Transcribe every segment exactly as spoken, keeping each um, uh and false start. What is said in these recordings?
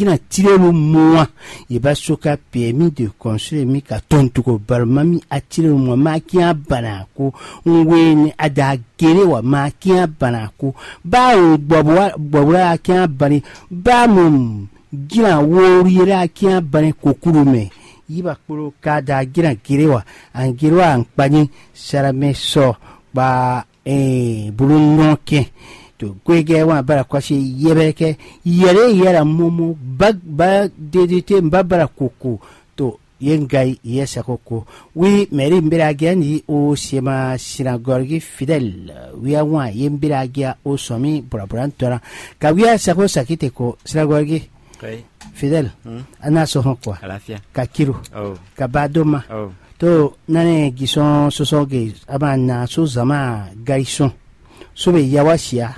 Kina tirelu mua, yeba soka permis de construire mi ka tɔn tuko baruma mi a tirelu mua ma kian bana ko. Ngwe ni ada gere wa ma kian bana ko. Ba o gbɔbwa gbɔbwa a kian bani. Ba mo gina wori yere a kian bani kokuru me. Yiba kpolo ka da gina gere wa an gere wa an kpanyi. Sara me sɔ ba bulu nɔ kɛn to gwegɛ wan bara kɔsi yɛbɛkɛ yɛlɛ yɛlɛ mɔmɔ ba ba dedete ba bara koko to ye nga yi yɛ sako ko. Wi mɛri mbira gɛn yi o sema sinagɔgi fidɛl. Wi awan ye mbira gɛn o sɔmi bɔlɔbɔlɔ ntɔla ka wi sako sakite ko sinagɔgi fidɛl. Ana sɔhɔn kwa ka kiro ka ba doma to nane gisɔn sɔsɔ ge ama na so zama gaisɔn so be yawa sia.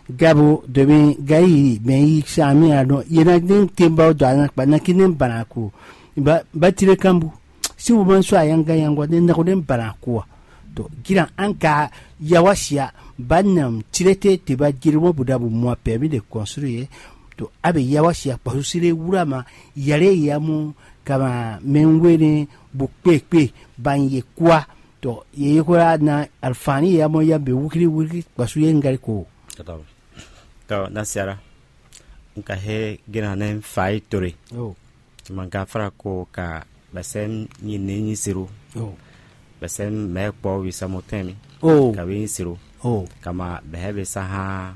Gabo domi gayi mɛ yi sa mi a dɔn ye na ne te ba do ana kpa na ki ne bana ko ba ba tire kambu si wo man so ayanga yanga ne na ko ne bana ko a. To gira an ka yawa sia ba na tire te te ba jiri mo buda bu mo a permis de construire. To abe yawa sia kpasu sire wura ma yale ya mo kama mɛ ngwe ne bu kpe kpe ban ye kwa. To ye ye ko na alfani ya mo ya be wukiri wukiri kpasu ye ngari ko. Tɔ na siara n ka he gena ne fa yi tore. Oh. Mangafara ko ka bɛsɛ nyi ne nyi siro. Oh. Bɛsɛ mɛ kpɔ wi samotɛn mi. Oh. Ka wi nyi siro. Oh. Kama bɛhɛ be sa ha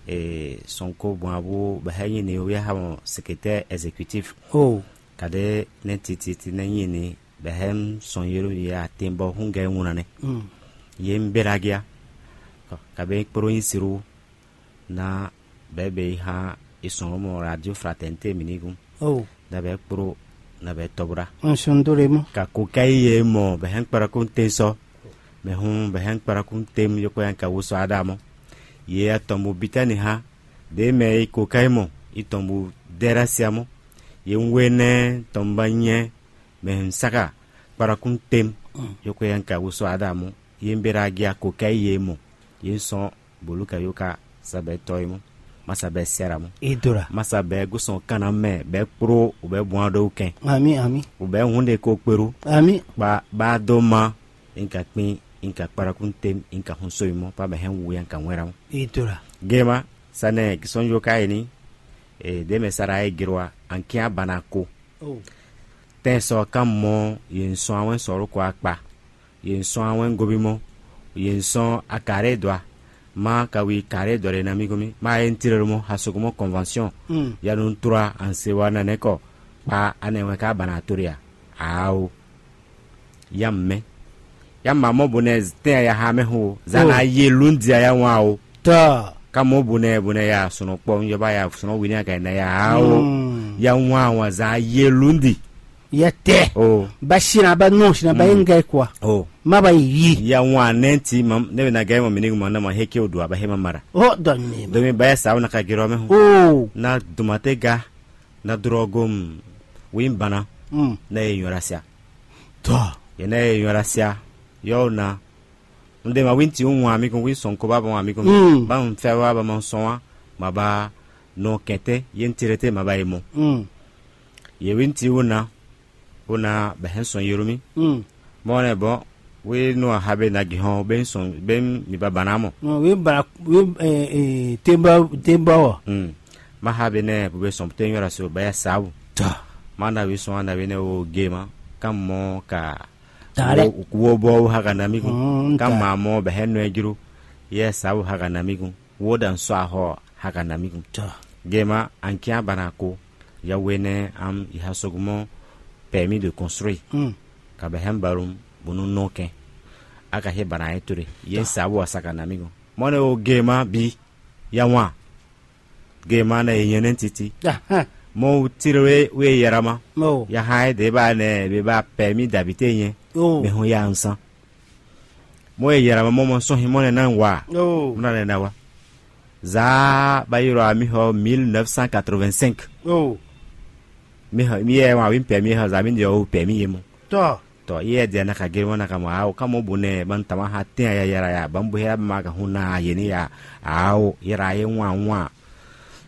e sonko bɔn abu bɛhɛ nyi ne wi ha mo secrétaire exécutif. Oh. Kade ne titi ti ne nyi ne bɛhɛ son yero ya tembo hungɛ ŋuna ne. Mm. Ye mberagia. Kabe kporo nyi siro na bɛɛ bɛ yi hã e sɔn mɔ radio fraternité mi ní gun. Oh. Na bɛ kpro na bɛ tɔbra. Un sɔn do le mɔ. Ka ko ka yi ye mɔ bɛ hɛn kpara kun te sɔ. Mɛ hun bɛ hɛn kpara kun te mu yoko yan ka wo sɔ ada mɔ. Ye atɔn bu bitani hã. De mɛ yi ko ka yi mɔ yi tɔn bu dɛra sia mɔ. Ye un we nɛ tɔn ba nyɛ mɛ hun saka kpara kun te mu. Mm. Yoko yan ka wo sɔ ada mɔ. Ye mbera gi a ko ka yi ye mɔ. Ye sɔn bolu ka yo ka sabɛ tɔ yi mɔ. Ma sabɛ sɛra mɔ. Idora. Ma sabɛ gusɔn kana mɛ bɛ kpro u bɛ bɔn do kɛn. Ami ami. U bɛ hun de ko kperu. Ami. Ba ba do ma. Inka kpin inka kparakun tem inka hun so mɔ pa bɛ hɛn wu yan ka wɛn ra mɔ. Idora. Gema sanɛ gisɔn yo ka yi ni. E de mɛ sara e girwa an kia bana ko. Oh. Tɛn sɔ kan mɔ ye sɔn awɛn sɔrɔ ko akpa. Ye sɔn awɛn gobi mɔ. Ye sɔn akare dɔ a. Ma ka wi kare dɔ ɖe na mi gomi ma ye ntire mɔ hasogomɔ convention. Mm. Ya nu tura an se wa na ne kɔ. Kpa anɛ wɛn ka bana tori a. Awo. Ya mɛ. Ya ma mɔ bonɛ tɛn ya ha mɛ ho. Zana ye lundi ya wan o. Tɔ. Ka mɔ bonɛ bonɛ ya sɔnɔ kpɔ njɔba ya sɔnɔ wini ka na ya awo. Mm. Ya wan wan za ye lundi. Yɛ tɛ. Oh. Ba sina ba nɔ sina ba ye ngai kwa. Oh. Ma ba yi. Ya wan nɛ ti ma ne bɛ na gɛ ma mini ma na ma heke o do aba he ma mara. Oh dɔn ne. Domi ba ya sa na ka gero me ho. Oh. Na dumate ga na drogo m. Wi bana. Mm. Na ye nyora sia. Tɔ. Ye na ye nyora sia. Yo na. N de ma wi ti un wan mi kun wi sɔn ko ba ba wan mi kun. Mm. Ba n fɛ wa ba ma sɔn wa ma ba nɔ kɛtɛ ye n tere te ma ba ye mɔ. Mm. Ye wi ti wo na. Wo na bɛ hɛn sɔn yoro mi. Mm. Mɔ ne bɔn wi nu a ha be na gi hɔn be sɔn be mi ba bana mɔ. Wi bara wi temba temba wɔ. Mm. Ma ha be ne bu be sɔn te nyɔra so ba ya sabu. Ta. Ma na wi sɔn na wi ne wo ge ma. Kan mɔ ka. Ta lɛ. Wo bɔ wo ha ka na mi kun. Mm, kan ta. Ma mɔ bɛ hɛn nɔ jiro. Ye sabu ha ka na mi kun. Wo dan sɔ ahɔ ha ka na mi kun. Ta. Ge ma an kia bana ko. Ya we ne am i ha sogumɔ permis de construire. Mm. Ka bɛ hɛn barum bunu nɔ kɛn. A ka he bana ye tore. Ye sabu a sa ka na mi kun. Mɔ ne wo ge ma bi. Ya wan. Ge ma na ye nyɛ ne titi. Aha. Mɔ tire we we yɛrɛ ma. Oh. Ya ha ye de ba ne be ba permis d'habiter nyɛ. Oh. Be hun ya nsan. Mɔ ye yɛrɛ ma mɔ mɔ sɔn hin mɔ ne na wa. Oh. Mɔ na ne na wa. Za ba yɔrɔ a mi xɔ mille neuf cent quatre-vingt-cinq. Oh. Mi xɔ mi yɛ wa wi permis xɔ za mi de o permis ye mɔ. Tɔ. Tɔ ye de na ka gere mɔ na ka mɔ awo ka mɔ bo ne ban tama ha ten ya yɛrɛ ya ban bo hera ma ka hun na ye ni ya awo yɛrɛ ye wan wan.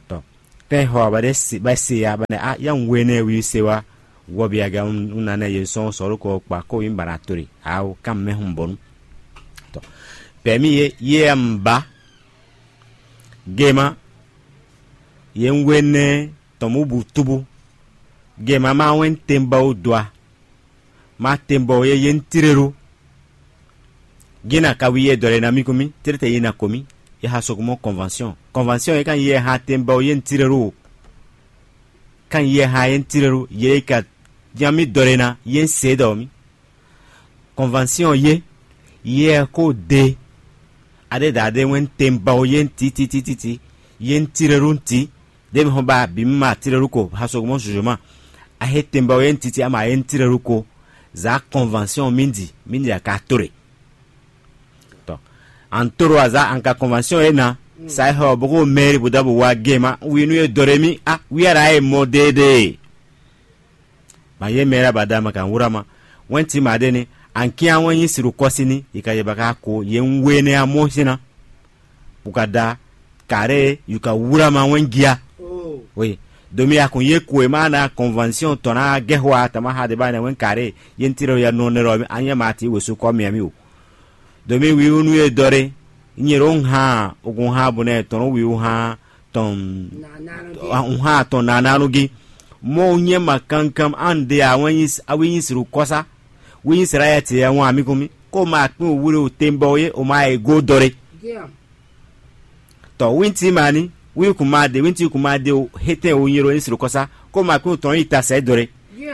Tɔ. Tɛ́n xɔ ba ɖe se ba se ya ba nɛ a ya un we nɛ wi se wa wɔ bi aga un na nɛ ye sɔn sɔrɔ kɔ kpa ko yin bara tori awo kan mɛ hun bɔnu. Tɔ pɛmi ye ye ya un ba gema ye un we nɛ tɔn mu bu tubu gema ma wɛn tɛnba wo dua ma tɛnba wo ye ye un tirelu. Gina ka wi ye dɔ le na mi kun mi tere te yi na ko mi ye ha sɔgɔmɔ convention convention ye kan ye ha tɛnba wo ye un tirelu o. Kan ye ha ye un tirelu ye ka jan mi dɔ le na ye un se dɔ mi convention ye ye ko de a ɖe da a ɖe wɛn tɛnba wo ye un ti ti ti ti ti ye un tirelu un ti ɖe mi hɔn ba bi mi ma tirelu ko ha sɔgɔmɔ jujuma a he tɛnba wo ye un ti ti ama ye un tirelu ko za convention mi di mi di a ka to ɖe. Tɔ an toro aza an ka convention e na sa e xɔ boko mɛri bo da bo wa gema wi nu e dɔ ɖe mi a wi ara e mɔ deɖe. Ma ye mɛra ba da ma kan wura ma wɛn ti ma ɖe ni an kian wɛn nyi siru kɔsi ni yi ka ye ba ka ko ye un we ne a mɔ sin na bu ka da kare yi ka wura ma wɛn gia. Oye domi a kun ye ko e ma na convention tɔn na gɛ xɔ a tama ha de ba ne wɛn kare ye un ti ɖe ya nɔ ne ɖɔ a nyɛ ma ti wesu kɔ miami o. Domi wiwu nu ye dɔ ɖe nyɛ ɖo hàn ogun hàn bo nɛ tɔn wiwu hàn tɔn hàn tɔn nananu gi. Mɔ nyɛ ma kankan an de a wɛn nyi a wi nyi siru kɔsa wi nyi sra ya ti ya wọn ami kun mi ko ma kpin wuli o temba o ye o ma e go dɔ ɖe. Tɔ winti ma ni wi kun ma de winti kun ma de o hetɛn o nyɛ ɖo nyi siru kɔsa ko ma kpin o tɔn yi ta sɛ dɔ ɖe.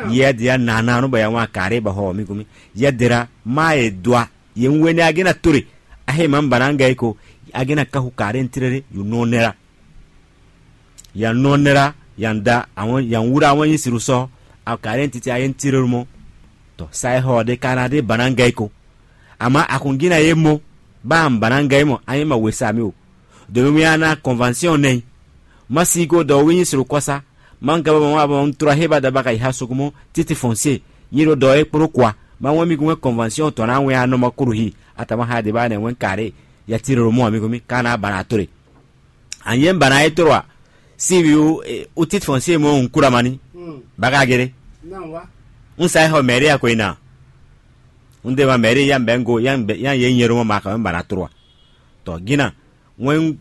Yɛ dia nananu ba ya wọn a kare ba xɔ mi kun mi yɛ dera ma e dɔa ye un wɛnɛ a gɛn na to ɖe a he ma un ba na un gɛ yi ko a gɛn na kaxu kare un tere ɖe yo nɔ nɛ la. Ya nɔ nɛ la ya da awɔn ya wura awɔn nyi siru sɔ a kare un titi a ye un tere ɖo mɔ. Tɔ sa e xɔ ɖe ka na ɖe ba na un gɛ yi ko ama a kun gɛn na ye mɔ ba un ba na un gɛ yi mɔ a ye ma we sa mi o. Domi mi a na convention nɛ ma si go dɔ wi nyi siru kɔsa ma un gaba ma ma un tura he ba da ba ka yi ha sukumɔ titi fɔnse nyi ɖo dɔ e kplo kwa ma wɛn mi gun wɛn convention tɔn na wɛn anɔ ma kuru hi atama ha de ba nɛ wɛn kare ya tiri ɖo mɔ mi gun mi ka na ba na to ɖe. An yɛ un ba na ye toro a si wi o titi fɔnse mɔ un kura ma ni ba ka gere. Un sa xɔ mɛri a ko yi na un de ma mɛri ya un bɛ un go ya un bɛ ya ye nyɛ ɖo mɔ ma ka wɛn ba na toro a. Tɔ gina wɛn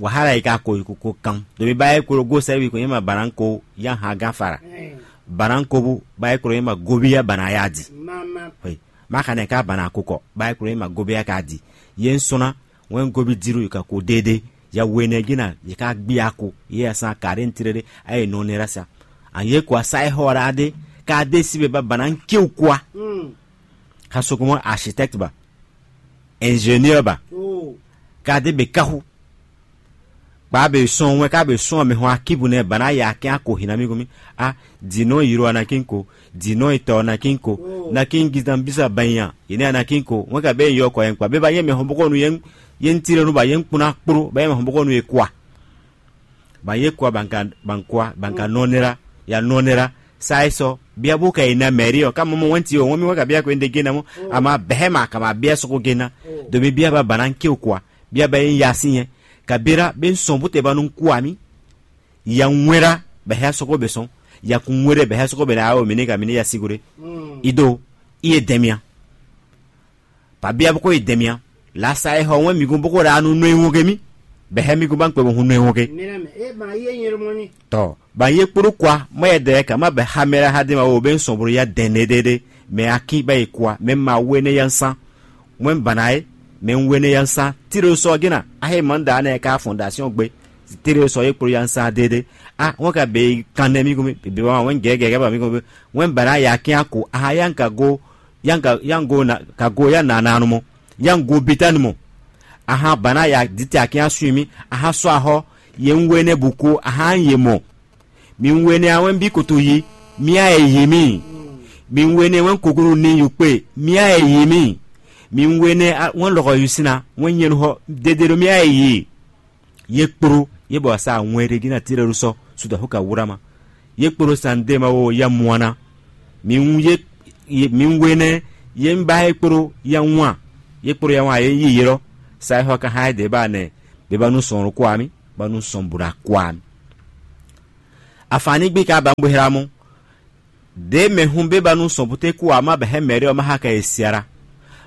wahala yi ka ko yi ko kan domi ba ye klo go sɛ wi ko ye ma ba na ko ya ha gan fara. Ba na ko bu ba ye klo ye ma gobi ya ba na ya di. Ma ka nɛ ka ba na ko kɔ ba ye klo ye ma gobi ya ka di. Ye un sɔn na wɛn gobi diru yi ka ko déédéé ya wenɛ gina yi ka gbi ako ye ya san kare un tere ɖe a ye nɔ ne ra sa. An ye ko asa ye xɔ ra ɖe ka de si be ba ba na un kiw kwa. Ka sokomɔ architecte ba ingénieur ba ka de be kaxu. Kpa be sɔn wɛn ka be sɔn mɛ hɔn akibu nɛ ba na ya kɛn ako hina mi ko mi a di nɔ yi ro anakin ko di nɔ yi tɔ anakin ko nakin gidan bisa banya yi ne anakin ko wɛn ka be yɔ kɔ yɛn kpa be ba yɛ mɛ hɔn bɔkɔ nu yɛn yɛn tire nu ba yɛn kpɔn akplo ba yɛ mɛ hɔn bɔkɔ nu yɛ kwa. Ba yɛ kwa ban ka ban kwa ban ka nɔ nera ya nɔ nera sa yi sɔ bia bo ka yi na mɛri ɔ ka mɔ mɔ wɛn ti o wɛn mi wɛn ka bia ko yɛn de gena mɔ ama bɛhɛ ma kama bia sɔgɔ gena domi bia ba bana ke o kwa bia ba yi ya si yɛn kabira be sɔn bu te ba nu ku ami. Ya ŋwɛra bɛ hɛ sɔgɔ bɛ sɔn ya kun ŋwɛrɛ bɛ hɛ sɔgɔ bɛ na awo mine ka mine ya sigore. Ido iye dɛmia. Ba bia boko ye dɛmia la sa e hɔ wɛn mi gun boko ɖa nu nɔ ewɔn ke mi bɛ hɛ mi gun ba kpɛ bo hun nɔ ewɔn ke. Tɔ ba ye kporo kwa mɔ yɛ dɛ kama bɛ hamɛra ha de ma wo bɛ sɔn bolo ya dɛn ne de de mɛ aki ba ye kwa mɛ ma wo ne ya san. Mwen bana ye mɛ un wene ya un san tiro sɔ gena a he man da ne ka fondation gbe tiro sɔ ye kplo ya un san dede a wọn ka be kan ne mi ko mi be wa wọn gɛgɛ gɛgɛ ba mi ko mi wọn bana ya kian ko a ha ya ka go ya ka ya go na ka go ya na na no mo ya go bitani mo. A ha bana ya dite a kian sui mi a ha sɔ a hɔ ye un wene bu ko a ha ye mo. Mi wɛnɛ a wɛn bí koto yi, mía e yě mì. Mi wɛnɛ wɛn kokunu ní yukpe, mía e yě mì. Mi wɛnɛ wɛn lɔkɔ yusina, wɛn nyɛnu xɔ dede ɖo mía e yě. Ye kpro ye bɔ sa wɛn ɖe gina tirɛ ɖo sɔ suda xo ka wura ma. Ye kpro san de ma wo ya muana. Mi wu ye mi wɛnɛ ye ba ye kpro ya wan. Ye kpro ya wan ye yi yelɔ. Sa xɔ ka ha de ba nɛ be ba nu sɔn ko ami, ba nu sɔn bura ko ami. Afǎn ní gbí ka ba un bo hla mɔ. Ɖě mɛ hun bé ba nú sɔn búté kú ǎ má bɛ hɛn mɛ̌ɖé ɔ́ má xa kɛ e siara.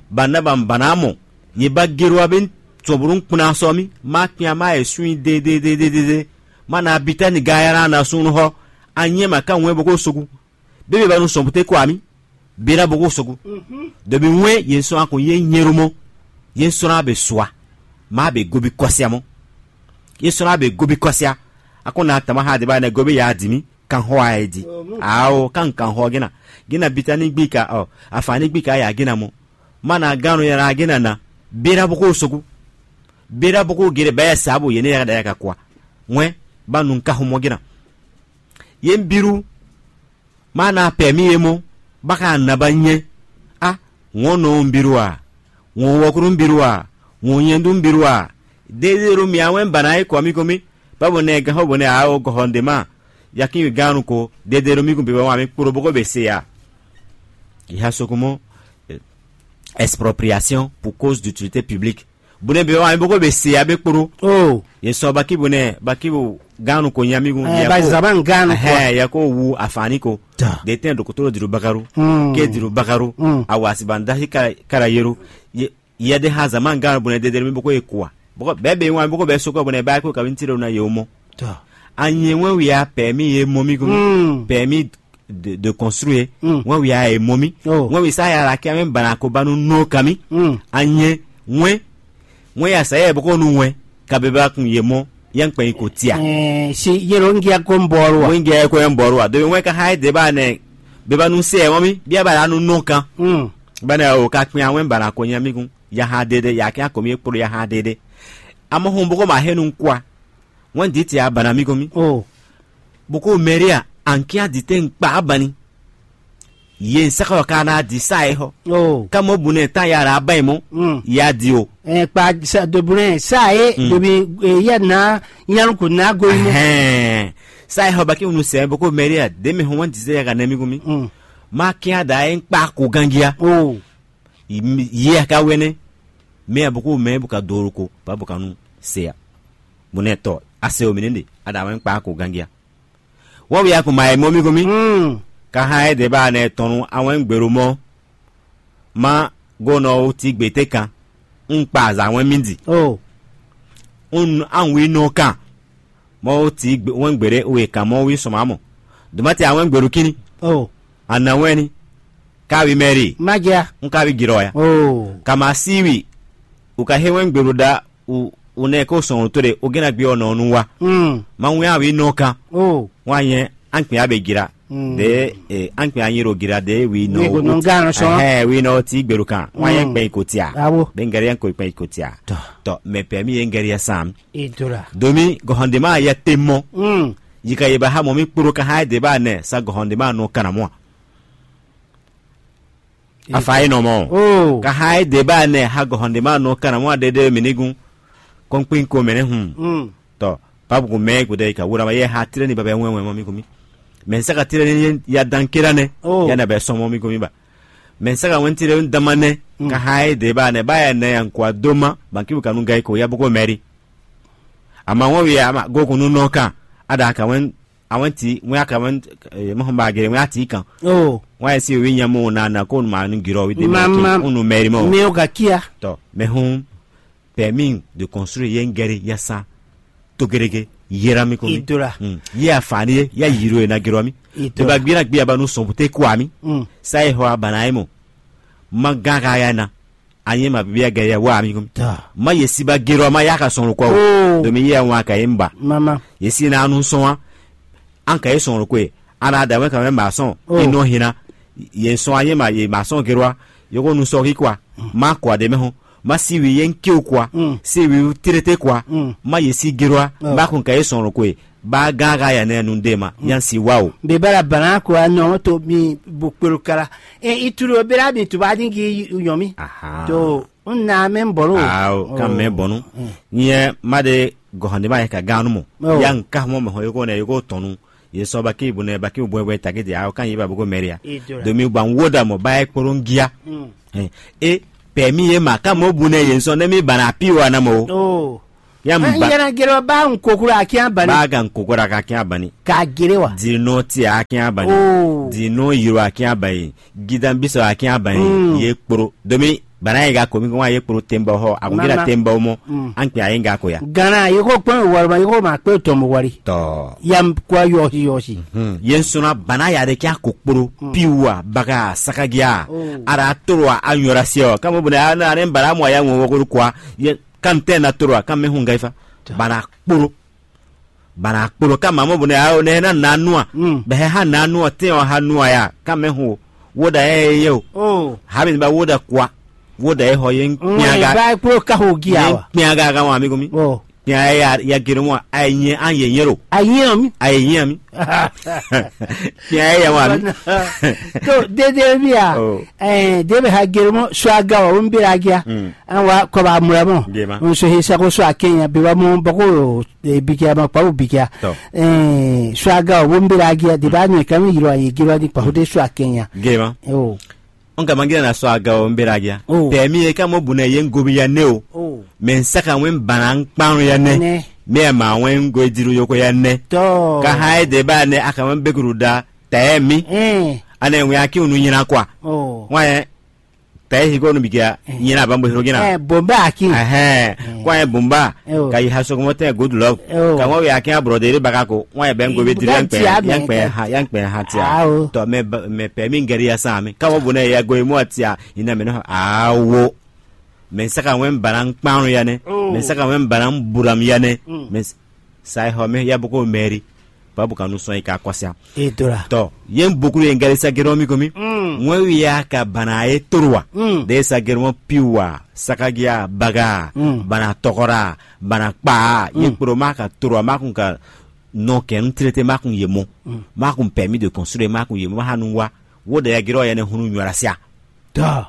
Ba na ba un ba ná mɔ. Yě ba géɖó ɔ́ bé sɔn bó nú kplɔ́n asɔ mì, má kpin ama e sú nyi dédédédédé. Má na abitɛ́ni ga yá ná ná súnnu xɔ. Anyɛ́ ma ká wɛn bó kó sogu. Bé bé ba nú sɔn búté kú ǎ mì. Bira boko sogo. Ɖebi wɛn yě sɔ́ akɔn yé nyɛ́ɖó mɔ. Yě sɔ́ ná bɛ sua. Má bɛ gobi kɔsia mɔ. Yě sɔ́ ná bɛ gobi kɔsia. Akɔn na tama ha de ba ne gobi ya di mi. Kan xɔ a di. Awo kan kan xɔ gena. Gena bitani gbi ka ɔ. Afani gbi ka ya gena mɔ. Má na gán ya na gena na. Bira boko sogo. Bira boko gere bɛ ya sabo yene ya da ya ka kwa. Wɛn ba nun ka xɔ mɔ gena. Yé biru. Má ná pɛ̌ mì é mɔ́, bá ka ná ba nyɛ. Á, wɔ̌n nɔ un biɖo a? Wɔ̌n wɔkúɖú un biɖo a? Wɔ̌n nyɛndú un biɖo a? Dédéɖo mì á wɛn ba ná é kɔ mì kɔn mì, bá bɔ nɛ gán xɔ bɔ nɛ a ó gɔxɔ ɖě ma. Yakin gán nu ko, dédéɖo mì kún bǐ bɔ wǎn mì kpló bó ko bě se a? Ìhà sokumɔ, expropriation pour cause d'utilité publique. Bune be wa mi boko be se abe kporo. Oh. Ye sɔ baki bune baki bo ganu ko nyamigun. Eh, ba zaba nganu ko. He ya ko wu afani ko. De ten dokotoro diru bakaru. Ke diru bakaru. Awasi ban dahi kara kara yeru. Ye ye de ha zaman ganu bune de de mi boko ye kwa. Boko be be wa mi boko be soko bune ba ko ka bin tiro na ye omo. Anyɛ wɛn wi a pɛ mi ye mo mi ko. Pɛ mi de, de construire. Wɛn wi a e mɔ mì. Wɛn wi sa ya la kɛ mɛ bana ko ba nu nɔ ka mì. Anyɛ wɛn wɛn ya sa yɛ bɔ ko nu wɛn ka be ba kun ye mɔ yɛn kpɛn ko tia. Si yelo ngia ko mbɔru wa. Wɛn ngia ko yɛn mbɔru wa. Domi wɛn ka ha de ba nɛ be ba nu se mɔ mi bia ba la nu nɔ kan. Ba nɛ o ka kpɛn wɛn bana ko nya mi kun ya ha de de ya kɛ ko mi kpolo ya ha de de. Amɔ hun bɔ ko ma he nu kwa. Wɛn di tia bana mi ko mi. Boko mɛria ankia di te nkpa abani. Ye nsaka ka na di sa e xɔ. Ka mo bu ne ta yara aban mo. Ya di o. Kpa sa dobune sa e dobi ya na nyalu ko na go mo. Sa e xɔ baki unu sɛ boko mɛria de me hɔn di se ya ka nɛ mi ko mi. Ma kia da e nkpa ko gangia. Yi a ka wɛnɛ. Mɛ a boko mɛ bu ka doro ko ba bu ka nu se a. Bunɛ tɔ a se o mi ne de a da wɛn kpa ko gangia. Wɔ wi a ko ma e mɔ mi ko mi. Ka ha e de ba ne tɔnu a wɛn gbero mɔ. Ma go nɔ o ti gbe te kan. N kpa za wɛn mi di. O. N an wi nɔ kan. Mɔ o ti wɛn gbere o e kan mɔ wi sɔmɔ amɔ. Duma ti a wɛn gberu kini. O. A na wɛn ni. Ka wi mɛri. Ma ja. N ka wi girɔ ya. O. Ka ma si wi. U ka he wɛn gberu da u u nɛ ko sɔn to de o gena gbe ɔnɔ nu wa. Mm. Ma wɛn a wi nɔ kan. O. Wa nyɛ an kpɛ a be gira. Mm. De e an kpɛ a nyiro gira de wi nɔ. Wi nɔ gan sɔn. Ɛhɛ wi nɔ ti gberu kan. Wa nyɛ kpɛ ko tia. Awo. Be ngɛrɛ ko kpɛ ko tia. Tɔ. Tɔ mɛ pɛ mi ye ngɛrɛ sam. Idora. Domi gɔhɔndema ya te mɔ. Mm. Yika ye ba ha mɔ mi kporo ka ha de ba nɛ sa gɔhɔndema nɔ kana mɔ. Afa yi nɔ mɔ. Oh. Ka ha de ba nɛ ha gɔhɔndema nɔ kana mɔ de de mi nigun. Kɔnkpin ko mɛ ne hun. Mm. Tɔ pabu ko mɛ ko de ka wura ma ye ha tire ni ba bɛ wɛn wɛn mɔ mi ko mi. Mɛ saka tire ni ya dan kira nɛ. Oh. Ya na bɛ sɔn mɔ mi ko mi ba. Mɛ saka wɛn tire ni dama nɛ. Mm. Ka ha de ba nɛ ba ya nɛ ya nkwa doma banki bu kanu gai ko ya bu ko mɛri. Ama wɔn wi ama go kunu nɔ kan ada ka wɛn awɛn ti wɛn aka wɛn eh, mɔ ba gere wɛn ati kan. Oh. Wɛn si wi nya mo na na ko ma nu girɔ wi de Mama. Unu mɛri mɔ. Mi o ka kia. Tɔ mɛ hun permis de construire ye ngɛri ya sa to gerege yera mi ko mi. Idola. Hmm. Ye afani ye ya yiro ye na girɔ mi. Idola. To ba gbira gbia ba nu sɔn bute ko ami. Hmm. Sa ye ho abana ye mo. Ma gaga ya na. Anyɛ ma bibia gɛ ya wa ami ko mi. Ta. Ma ye si ba girɔ ma ya ka sɔn ko. Oh. Domi ye wa ka ye mba. Mama. Ye si na anu sɔn wa. An ka ye sɔn ko. Ana da wɛn ka wɛn ma sɔn. Oh. Ino hina. Ye sɔn anyɛ ma ye ma sɔn girɔ. Yoko nu sɔ ki kwa. Ma kwa de mɛ ho. Ma si wi ye nkiw kwa. Mm. Si wi tirete kwa. Mm. Ma ye si girɔ. Oh. Ba kun ka ye sɔn ko. Ba gaga ya nɛ nu de ma. Mm. Yan si wa o. Be bara bana ko anɔ to mi bukpelo kala. E itulu bera mi tu ba dingi yɔmi. Aha. To un na mɛ bɔlu. Ah, kan mɛ bɔnu. Mm. Nyɛ ma de gɔhande ma ye ka ganu mo. Oh. Yan ka mo me ho yoko ne yoko tɔnu. Ye sɔ ba ki bu ne ba ki bu bwe taki de a kan yi ba bu ko mɛria. Idola. Domi ba wo da mo ba e kporo ngia. Mm. Eh, e pɛ mi ye ma ka mo bu ne ye sɔ ne mi bana pi wa na mo. Oh. Ya n ba. Yɛn na gɛlɛ ba n kokoro akin abani. Ba ka n kokoro akin abani. Ka gɛlɛ wa. Di nɔ ti akin abani. Oh. Di nɔ yiro akin abani. Gidan bisɔ akin abani. Mm. Ye kporo. Domi bana ye ga ko mi ko wa ye kporo temba ho. Agun gila temba mo. Mm. An kpe aye ga ko ya. Gana ye ko kpɔn wari ma ye ko ma kpe tɔn mo wari. Tɔ. Yam kwa yɔsi yɔsi. Hmm. Yen sɔnna bana ya ɖe kí a ko kpolo piwu a baga sakagia. Oh. Ara toro a anyɔra se ɔ kama bɔ ne a ne bara mɔ a ya ŋɔ wɔkoro kɔ a ye kan tɛ na toro a kan mɛ hun ga ifa. Bana kpolo. Bana kpolo kama mɔ bɔ ne a ne na na nu a. Mm. Bɛ ha na nu a tɛ ɔ ha nu a ya kan mɛ hun o. Wo da ye ye o. Oh. Ha mi ba wo da kɔ a. Wo da ye hɔ ye. Mm, kpiaga ba kpolo ka ho gia ye wa. Kpiaga ga wa mi ko mi. Oh. Kpɛn a ya ya gere mɔ a yi nyɛ an yɛ nyɛ ɖo. A yi nyɛ mi. A yi nyɛ mi. Kpɛn a ya wa mi. To dede mi a. Oh. Eh, debe ha gere mɔ so aga wa wo n bira agia. Mm. An wa kɔ ba mura mɔ. Gema. N so he sa ko so a kenya be ba mɔ bako e bikia ma pa wo bikia. Tɔ. Eh, so aga wa wo n bira agia de ba nyɛ kami yiro a ye gere wa di pa ho de so a kenya. Gema. Oh. N ka ma gina na sɔ aga o n bera agia. Oh. Tɛ mi e ka mɔ bu nɛ ye n gobi ya ne o. Oh. Mɛ n saka wɛn bana n kpan ya nɛ. Nɛ. Mi e ma wɛn n go diru yoko ya nɛ. Tɔ. Ka ha e de ba nɛ a ka wɛn bekuru da tɛ mi. Mm. Ane wɛn aki unu nyina kwa. Oh. Wɛn tɛ hi ko nu bikia nyina ba mbo hiro gina. Eh, bomba aki. Ɛhɛn. Mm. Kwa ye bomba. Oh. Ka yi ha sɔgɔmɔ tɛ good luck. Oh. Ka wɛn wɛ aki a brɔdɛ ere baka ko. Wɛn ye bɛ n gobi diru ya n kpɛ ya n kpɛ ha ya n kpɛ ha tia. Ah, oh. Tɔ mɛ ba- mɛ pɛ mi n gɛri ya san mi. Ka wɛn bu nɛ ya go emu atia. Ina mɛ nɔ awo. Mɛ saka wɛn bana n kpan ya nɛ. Oh. Mɛ saka wɛn bana n buram ya nɛ. Mm. Mɛ s- sa e xɔ mɛ ya boko mɛri. Babu kanu sɔn yi ka kɔsia. E dora. Tɔ ye n bokuru ye n gɛri sa gɛrɛ mi ko mi. Mm. Ŋwɛ wi ya ka bana ye toro wa. Mm. De sa gɛrɛ mɔ piwu wa sakagia baga. Mm. Bana tɔgɔra bana kpa ye kporo ma ka toro wa ma kun ka nɔ kɛ n traité ma kun ye mɔ. Mm. Ma kun permis de construire ma kun ye mɔ ma ha nu wa. Wo da ya gɛrɛ ya ne hunu nyɔra sia. Tɔ.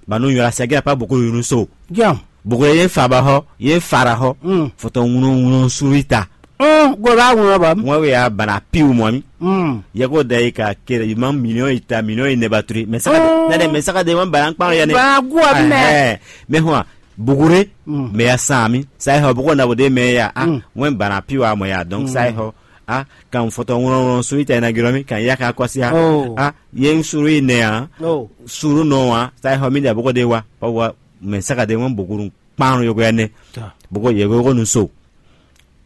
Ba nu nyɔra sia gɛrɛ pa bokuru yunu so. Jam. Bokuru ye fa ba hɔ ye fa ra hɔ. Mm. Fɔtɔ ŋunɔ ŋunɔ suru ta. Mm, go ba ŋunɔ ba. Ŋwɛ we ya bana piwu mɔ mi. Mm. Ye ko da yi ka kere yi ma million yi ta million yi ne ba turi. Mais saka de ne de mais saka de ma bana kpa ya ne. Ba gu a bi mɛ. Ɛhɛn. Mais hɔn bugure. Mm. Mais ya sa mi. Sa ye hɔ bugo na bo de mais ya. Ah, Mm. Ŋwɛ bana piwu a mɔ ya. Donc sa ye hɔ. Ah, kan fɔtɔ ŋlɔŋlɔ suru ta ina gilɔ mi kan ya ka kɔsi a. Oh. Ah, ye suru yi nɛ a. Oh. Suru nɔ a. Sa ye hɔ mi da bugo de wa. Pa wa mais saka de ŋwɛ buguru kpan yoko ya ne. Ta. Bugo ye ko nu so.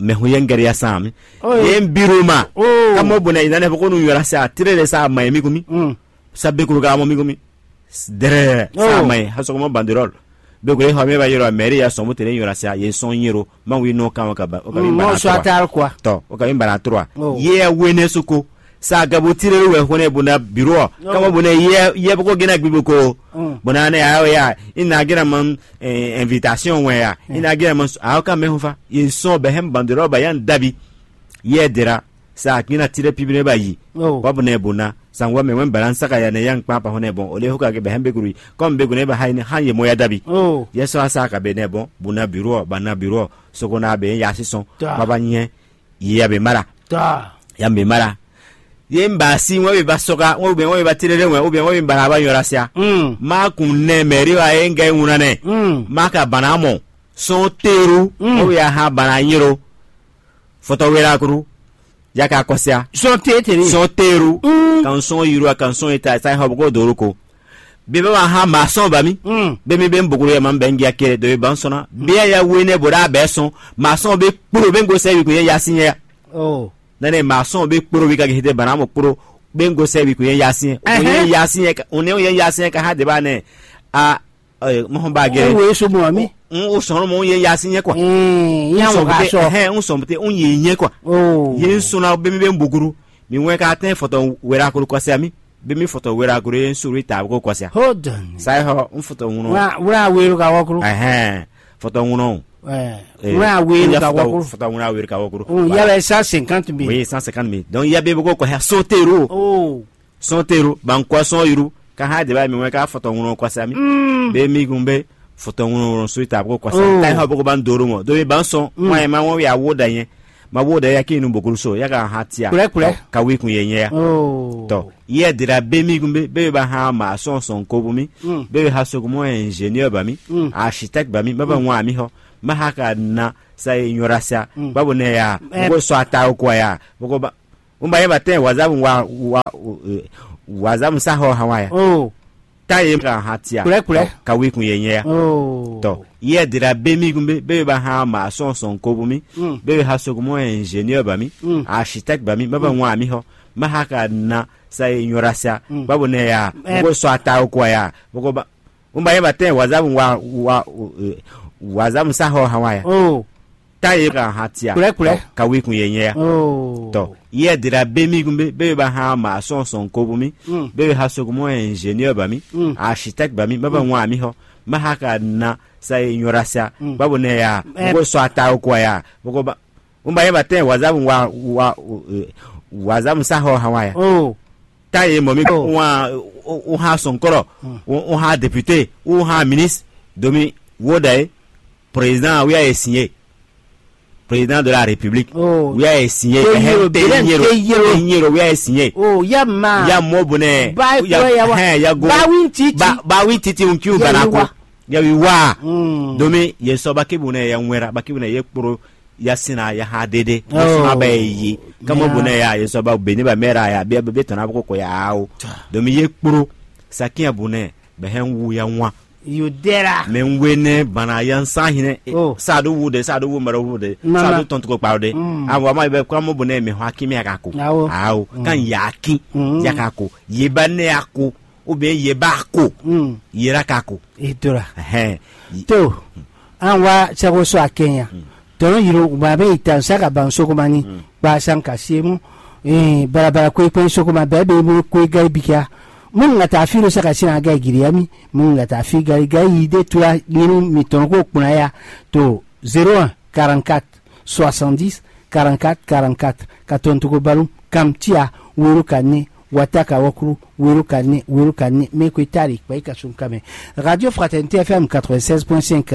Mɛ hu ye n gɛri ya san mi. Oh, ye n biru ma. Oh. Kamo buna yi nane bugo nu yora sa tire de sa ma mi kumi. Mm. Sa bekuru ga mo mi kumi. Dere sa Oh. Ma ha so mo banderol. Be ko ye ho mi ba yoro meri ya so mo tele yora sa ye son yero. Ma wi no ka o ka ba o ka mi Mm, bara mo so trois. Atal quoi. To o ka mi bara trois. Oh. Ye wene suko. Sa gabo tire wɛ hone buna biro. Oh. Kamo buna ye ye bugo gena gbibo ko. Mm. Buna ne ya ya. Ina gena man eh, invitation wɛ ya. Mm. Ina gena man a ka me ho fa. Ye son be hem banderol ba yan dabi. Ye dera. Sa akina tire pibine ba yi. Oh. Wa buna buna. Sangwa me wen balan saka ya ne yan kpa pa hone bon. Ole ho ka ke be hem be kuru. Kom be gune ba ha ina han ye moya dabi. Oh. Ye so sa ka be ne bon. Buna biro ba na biro. Soko na be ya si son. Ta. Baba nye. Ye ya be mara. Ta. Ya be mara. Ye n ba si ŋwɛ be ba sɔka ŋwɛ be ŋwɛ be ba tere ɖe ŋwɛ be ŋwɛ be ba na ba yɔra sia. Mm. Ma kun nɛ mɛri wa ye n gɛ ŋuna nɛ. Mm. Ma ka bana mɔ sɔn teru Mm. Ŋwɛ be ya ha bana nyiro. Fɔtɔ wera kuru. Ya ka kɔsia. Sɔn te tere. Sɔn teru. Mm. Kan sɔn yiro kan sɔn eta sa hɔ ko doro ko. Bí bá wà hán màá sɔn bá mi. Mm. Bí mi bɛ ń bòkúrò yɛ máa ń bɛ ń gé akéré dɔ̀wé bá ń sɔn ná. Bí ẹ yɛ wé nɛ bò dá bɛɛ sɔn. Màá sɔn bɛ kpódò bɛ ń go sɛ wì kò yɛ yasi yɛ. Oh. Nɛnɛ màá sɔn bɛ kpódò wì ka gé hete bana mo kpódò bɛ ń go sɛ wì kò yɛ yasi yɛ. Kò yɛ Ɛhɛn. Yasi yɛ ka òun yɛ yasi yɛ ka há deba nɛ. A ɛ mɔhɔn ba gɛ. Ó wo é só mɔ mí. Ń ó sɔn mɔ ń yɛ yasi yɛ kɔ. Ń yà wọ́n ká sɔ. Hɛn ń sɔn te ń yɛ yɛ kɔ. Oh. Yɛ ń sɔn na bɛ mi bɛ ń bòkúrò. Mi wɛ ka tɛ fɔtɔ wɛrɛ akolo kɔsɛ mi. Bí mi fɔtɔ wéra gro yé ń sori ta bó kɔsya. Hold on. Sa é xɔ ń fɔtɔ ŋunɔ. Wúrà wúrà wéru ka wɔ kúrú. Ɛhɛn. Fɔtɔ ŋunɔ. Ɛ Eh, wúrà wéru ka wɔ kúrú. Fɔtɔ ŋunɔ wéru ka wɔ kúrú. Oh, ya bɛ cent cinquante mille. Oui, cent cinquante mille. Donc ya bɛ bó kɔ kɔsya sɔn teru. Oh. Sɔn teru ban kɔ sɔn yiru. Ka ha de ba mi wɛ ka fɔtɔ ŋunɔ kɔsya mi. Mm. Bɛ mi kun bɛ fɔtɔ ŋunɔ sori ta bó kɔsya. Oh. Ta xɔ bó kɔ ban doro mɔ. Donc ban sɔn. Mm. Mɔ ye ma wɔ ya wo da yɛ. Ma wo da ya ki nu bokuru so ya ka ha tia. Kplɛ kplɛ. Ka wi kun ye nyɛ ya. Oh. Tɔ. Yɛ dira be mi kun be be ba ha ma sɔn sɔn ko bu mi. Mm. Be be ha so ko mo ingénieur ba mi. Mm. Architecte ba mi ba ba ŋwa mi xɔ. Ma ha ka na sa ignorância, mm, ba bo nɛ ya, eh, boko sɔ ata ko ya, boko ba, un ba ye ba tɛn wazabu wa wa wazabu sa ho hawa ya. Oh. Ta ye ka ha tia. Kulɛ, kulɛ. Ka wi kun ye nyɛ ya. Oh. Tɔ, yɛ dira be mi kun be, be ba ha ma sɔn sɔn ko bu mi. Mm. Be ha so ko mo ingénieur ba mi. Mm. Architecte ba mi, ba ba, mm, ŋwa mi ho. Ma ha ka na sa ignorância, mm, ba bo nɛ ya, eh, boko sɔ ata ko ya, boko ba, un ba ye ba tɛn wazabu wa wa wazabu sa ho hawa ya. Oh. Ta ye ka ha tia. Kulɛ, kulɛ. Ka wi kun ye nyɛ ya. Oh. Tɔ, yɛ dira be mi kun be, be ba ha ma sɔn sɔn ko bu mi. Mm. Be ha so ko mo ingénieur ba mi. Mm. Architecte ba mi, ba ba, mm, ŋwa mi ho. Ma ha ka na sa ignorância, mm, ba bo nɛ ya, eh, boko sɔ ata ko ya, boko ba, un ba ye ba tɛn wazabu wa wa wazabu sa ho hawa ya. Oh. Ta ye mɔ mi, oh, un ha sɔn kɔrɔ, un ha député, un ha ministre, domi wo da ye, président wi a ye signé, président de la république, oh, wi a ye signé. Te yero, te yero, te yero, wi a ye signé. Oh, ya ma. Ya mɔ bonɛ. Ba ya, ya wa. Hɛn, ya go. Ba wi titi. Ba, ba wi titi un kiu, ya bana ko wa. Ya wi wa. Mm. Domi ye sɔ ba ke bonɛ ya ŋwɛra, ba ke bonɛ ye kporo ya sina ya ha dede. Oh. Sima ba ye yi. Kamo, ya, bonɛ ya ye sɔ ba beni ba mɛra ya be be tɔna ko ko ya o. Domi ye kporo. Sakin ya bonɛ bɛ hɛn wu ya ŋwa. Yudera. Mɛ ŋwe nɛ bana ya nsa hinɛ. Oh. Sa do wu de, sa do wu mɛrɛ wu de. Mama. Sa do tɔn tuko kpa de. Mm. Awo ama bɛ kamo bonɛ mɛ hwa kimi ya ka ko. Awo. Awo. Mm. Kan ya ki. Mm. Ya ka ko. Ye ba ne ya ko. Ou bien ye ba ko. Mm. Ye ra ka ko. Idora. Hɛn. To. An wa sako so akenya. Mm. Tɔnɔ yiro ba be ita saka ban soko mani. Mm. Ba san ka siemu. Eh, barabara kwe kwe soko ma bɛ be mo kwe gari bikia. Mun nga ta fi lo saka sina ga giriami. Mun nga ta fi gari gari de tua nyinu mi tɔnɔ ko kpuna ya. To zéro un quarante-quatre soixante-dix quarante-quatre quarante-quatre. Ka tɔn togo balu kam tia wero ka ne wata ka wakuru wero ka ne wero ka ne me kwe tari kpa ka sun kame. Radio Fraternité F M quatre-vingt-seize point cinq.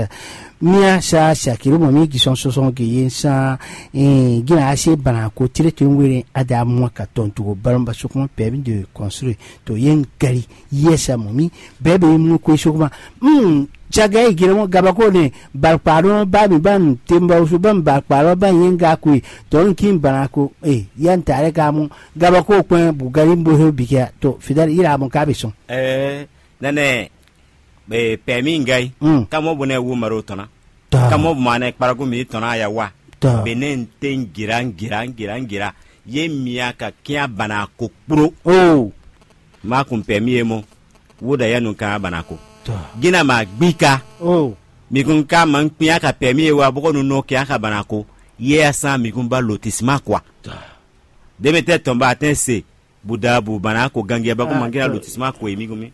Mia sa sakiri mo mi gisɔn sɔsɔn ge ye sa, eh, gina ase bana ko tire to were ada mo ka tɔn togo balu ba sokuma permis de construire. To ye gari yɛsa mɔ mi bɛɛ bɛ mu ko sokuma. Hmm. Caga yi gɛrɛ mɔ gabako ne balkpaɖɔ ba mi ba nu temba wusu ba mi balkpaɖɔ ba yɛn ga ko yi tɔnu kin bana ko e yan ta ɖe ka mu gabako kpɛn bugari bo he bi kɛ to fidali yira mɔ ka bi sɔn. Ɛɛ, nɛnɛ, be pɛmi ngai. Hmm. Kamɔ bo ne wu maro tɔna. Kamɔ bo ma ne kparago mi tɔna ya wa. Bene n te ngira ngira ngira ngira ye mia ka kia bana ko kpro. Oh. Ma kun pɛmi ye mɔ. Wo da ya nu ka bana ko. Gina ma gbika. Oh. Mi kun ka ma kpia ka pɛmi ye wa boko nu no kia ka bana ko. Ye ya san mi kun ba lotisma kwa. Deme tɛ tɔn ba tɛn se. Buda bu bana ko gangia ba ko mangina lotisma ko mi kun mi.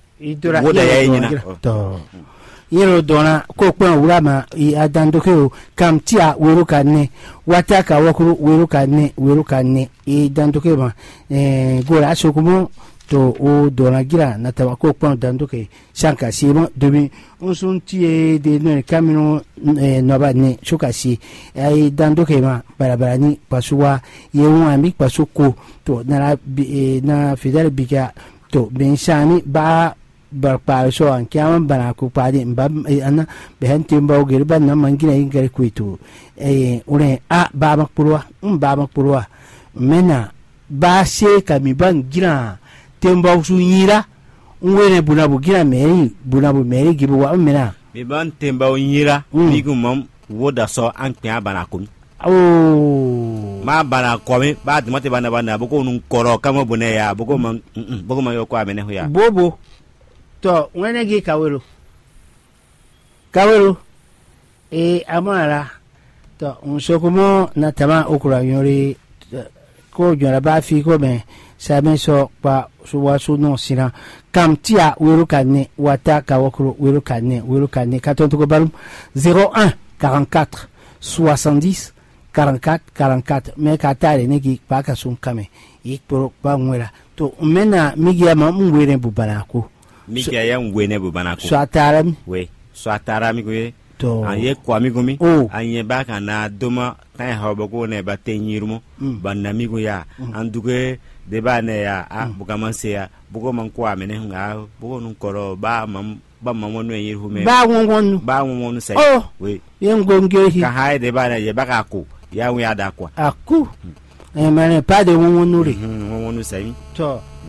Wo da ya ye nyina. Tɔ. Yero dɔnna ko kpɛn wula ma i adandoke o kam tia wero ka ne wata ka wakuru wero ka ne wero ka ne i dandoke ma. Eh, gora asokumo to o dɔnna gira na tawa ko kpɛn dandoke sanka si ma domi. Nsun tie de nɔ kamino, eh, nɔba ne suka si ai dandoke ma barabara ni pasuwa ye ŋu ami pasu ko to na la bi, eh, na fidali bika to bensani ba barkpaal sɔ an kiama bana ko kpaade mba ana bɛhɛn temba o gere ba na mangina yi gere kweto. Eh, ulen a ba ma kpolwa, um ba ma kpolwa. Mena ba se ka mi ba ngira temba su nyira. Un wene buna bu gina mɛri buna bu mɛri gibi wa um mena. Mi ba temba o nyira. Mm. Mi gu mam wo da sɔ an kpɛn a bana ko mi. Oh. Ma bana kɔ mi ba duma te bana bana boko nun kɔrɔ kama bone ya boko ma. Mm, boko ma yo ko amene ho ya. Bobo. Tɔ ŋwɛnɛ gi kawelo. Kawelo. E amɔ ala. Tɔ ŋusoko mɔ na tama okura nyɔri. Ko jɔra ba fi ko mɛ sami sɔ kpa suwasu nɔ sina. Kam tia wero ka ne wata ka wɔkro wero ka ne wero ka ne katɔn toko balum. Zéro un quarante-quatre soixante-dix quarante-quatre quarante-quatre. Mɛ ka ta ɖe ne gi kpa ka sun kamɛ. Yi kporo kpa ŋwela. To mɛ na migia ma un were bu bana ko. Mikia ya un wene bu bana ko. So atara mi. We so atara mi ko ye. To an ye ko ami ko mi. Oh. An ye ba kan na doma kan ha boko ne ba te nyirumo. Mm. Ba na mi ko ya. Mm. An duke de ba ne ya a, mm, buka man se ya. Boko man ko amene nga boko nun koro ba mam. Ba ma wɔnu e nyi hu mɛ. Ba wɔnwɔnu. Ba wɔnwɔnu sɛ. Oh. Oui. Ye ŋgongyo hi. Ka ha e de ba na ye ba ka ko. Ya wi ada kwa. Aku. Emɛlɛ pa de wɔnwɔnu re. Hmm, wɔnwɔnu sɛ. Tɔ.